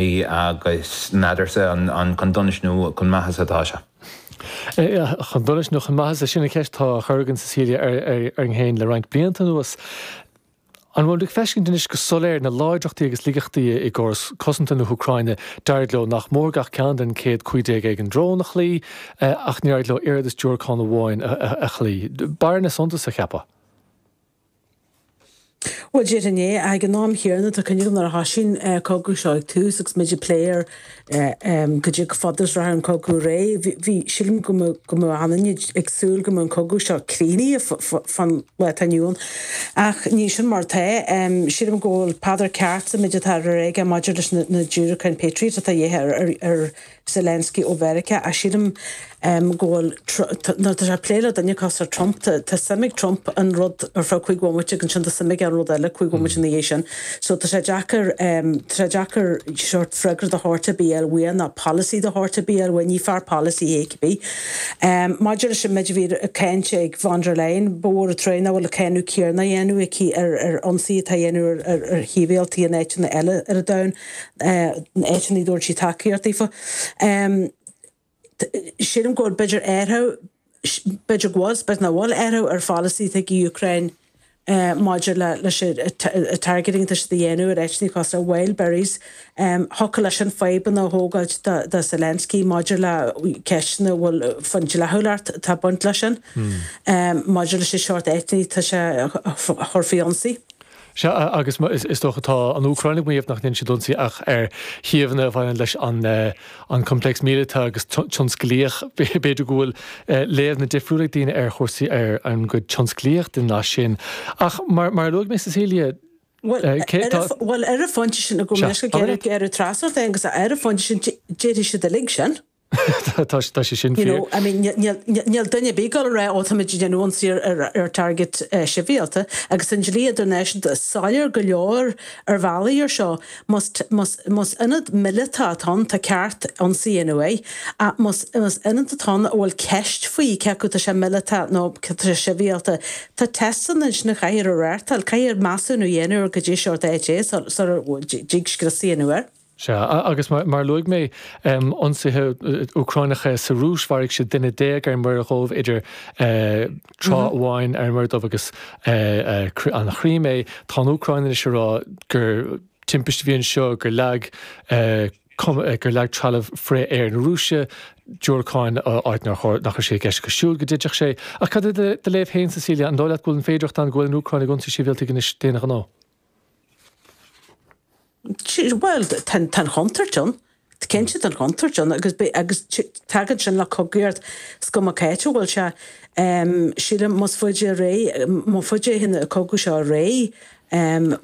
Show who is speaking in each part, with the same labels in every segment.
Speaker 1: Agus n'fheadarsa an chun donais nó chun maitheasa atá sé.
Speaker 2: Chun donais nó chun maitheasa, sin an cheist atá á chur againn, Cecilia, orainn féin le roinnt blianta anuas. An bhfuil muid ag feiscint anois go soiléir na láidreachtaí agus laigeachtaí i gcóras cosanta na hÚcráine? D'éirigh leo nach mór gach ceann den 115 éigin drón a chloí, ach níor éirigh leo oiread is diúracán amháin a chloí. Bearna suntasach, cheapfá.
Speaker 3: Bhuel, déarfainn é. Ag an am chéanna, tá cuimhne agam nuair a thosaigh an cogadh seo ag tús agus muid ag plé ar cad é chomh fada is rachadh an cogadh ar aghaidh, bhí, sílim go mbeadh, go mbeadh achan duine ag súil go mbeadh an cogadh seo críochnaithe fán lá atá inniu ann. Ach ní sin mar atá. Sílim go bhfuil Peadar ceart sa méid atá á rá aige maidir leis na diúracáin Patriot atá de dhíth ar Zelensky ó Mheiriceá ach sílim go bhfuil, nuair atá sé ag plé le duine cosúil le Trump, tá suim ag Trump in rud ar feadh 5 bhomaite agus ansin tá suim aige in rud eile 5 bhomaite ina dhiaidh sin. So tá sé deacair, tá sé deacair sórt freagra de shórt ar bith a fháil uaidh ná polasaí de shórt ar bith a fháil uaidh, ní fear polasaí é cibé. Maidir leis an méid a bhí ag caint ag von der Leyen, ba mhór an trua nach bhfuil an cáineadh céanna á dhéanamh aici ar ionsaithe atá á dhéanamh ar shibhialtaigh in áiteanna eile ar an domhan. áiteanna a dtabharann sí tacaíocht daofa. Sílim go bhfuil b'fhéidir athrú, b'fhéidir go bhfuil, is b'fhéidir nach bhfuil athrú ar pholasaí atá ag an Úcráin maidir le leis an targeting atá siad a dhéanamh ar áiteanna cosúil le Wildberries. Thiocfadh leis sin fadhbanna a thógáilt do Zelensky maidir le ceisteanna a bhfuil faoin dleathúlacht atá ag baint leis sin, maidir leis an seort áiteanna atá sé a chur faoi ionsaí.
Speaker 2: Sea, agus is dócha tá an Úcráin ag maíomh nach ndéanann siad ionsaí ach ar shuíomhanna a bhaineann leis an an coimpléacs míleata agus tionsclaíoch. B'fhéidir go bhfuil léamhanna difriúla ag daoine ar chúrsaí ar an gcuid tionsclaíoch den nath sin. Ach mar mar a luaigh mé Cecilia,
Speaker 3: cé tá. Bhuel, ar an phointe sin, go mbeidh trasna agus ar an phointe sin déarfaidh siad uilig sin.
Speaker 2: Tá sé sin
Speaker 3: fíor. You know, I mean, níl duine ar bith ag dul a rá, ó, táimid ag déanamh ionsaí ar target sibhialta, agus an dlí idirnáisiúnta soiléir go leor ar bhealaí ar seo, más ionad míleata atá ann, tá ceart ionsaí a dhéanamh air, ach más ionad atá ann a bhfuil ceist faoi cé acu tá sé míleata nó tá sé sibhialta, tá teisteanna ansin a chaithfear a reáchtáil, caithfear measúnú a dhéanamh ar goidé seort áit é sula dtig scrios a dhéanamh air.
Speaker 2: Sea, agus mar a luaigh mé, ionsaithe Úcráineacha sa Rúis, mharaigh siad duine ar an Muir Dhubh idir tráth amháin ar an Muir Dhubh agus an Chrímé. Tá an Úcráin anois ag rá gur timpiste a bhí anseo, gur leag gur leag trealamh frith-aeir na Rúise diúracáin áit nach raibh sé i gceist acu siúd go dtitfeadh sé. Ach cad é do léamh féin, Cecilia, an dóigh leat go bhfuil an féidearthacht ann go bhfuil an Úcráin ag ionsaí sibhialtaigh anois d'aon ghnó?
Speaker 3: Bhuel, tá an chontúirt ann. Cinnte tá an chontúirt ann agus agus tagann sin le cogaíocht is cuma cá háit a bhfuil sé. Sílim más faide ar aghaidh, má faide a théann an cogadh seo ar aghaidh,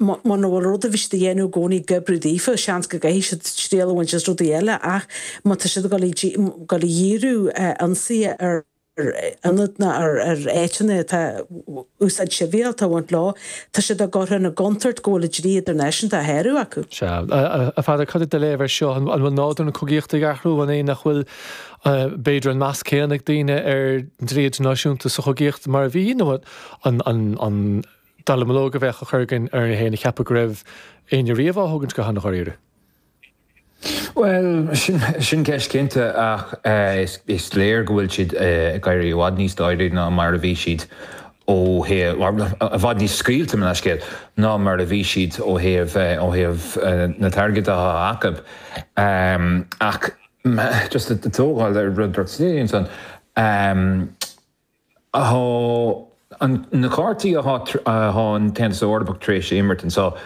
Speaker 3: muna bhfuil rud a bhí siad a dhéanamh i gcónaí ag oibriú daofa, seans go gcaithfidh siad triail a bhaint as rudaí eile ach má tá siad ag dul a dhíriú ionsaithe ar ar ionaid nó ar áiteanna atá úsáid sibhialta a bhaint leo, tá siad á gcur ina gcontúirt go bhfuil an dlí idirnáisiúnta á shárú acu.
Speaker 2: Sea. A Pheadair, cad é do léamh air seo? An bhfuil nádúr na cogaíochta ag athrú? An é nach bhfuil, b'fhéidir, an meas céanna ag daoine ar an dlí idirnáisiúnta sa chogaíocht mar a bhí, nó an dallamullóg a bheadh á chur againn orainn féin a cheapadh go raibh éinne riamh á thógaint go han-dháiríre?
Speaker 1: Bhuel, sin ceist cinnte ach is léir go bhfuil siad ag éirí i bhfad níos dáiríre ná mar a bhí siad ó thaobh, i bhfad níos scaoilte, mo leithscéal, ná mar a bhí siad ó thaobh, ó thaobh na targaid atá acu. Ach just ag tógáil ar rud a dúirt Cecilia ansan, Tá na cártaí atá an tAontas Eorpach tar éis a imirt anseo,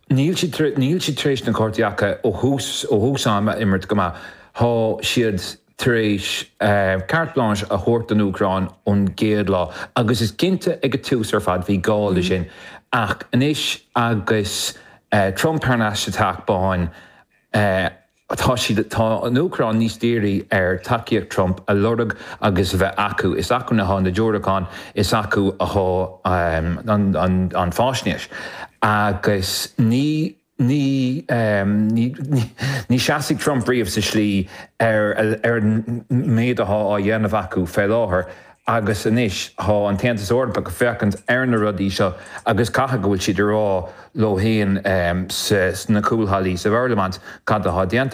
Speaker 1: níl siad níl siad tar éis na cártaí acu ó thús ó thús ama a imirt go maith. Tá siad tar éis carte blanche a thabhairt don Úcráin ón gcéad lá agus is cinnte ag an tús ar fad bhí gá le sin ach anois agus Trump thar n-ais sa Teach Bán, Tá siad, tá an Úcráin níos dírí ar tacaíocht Trump a lorg agus a bheith acu. Is acu atá na diúracáin, is acu atá an fáisnéis. Agus ní, ní, ní, ní seasfaidh Trump riamh sa slí ar, ar an méid atá á dhéanamh acu fé láthair. Agus anois tá an tAontas Eorpach ag féachaint ar na rudaí seo agus caithfidh go bhfuil siad ag rá leo féin sna cúlhallaí sa bParlaimint cad atá déanta.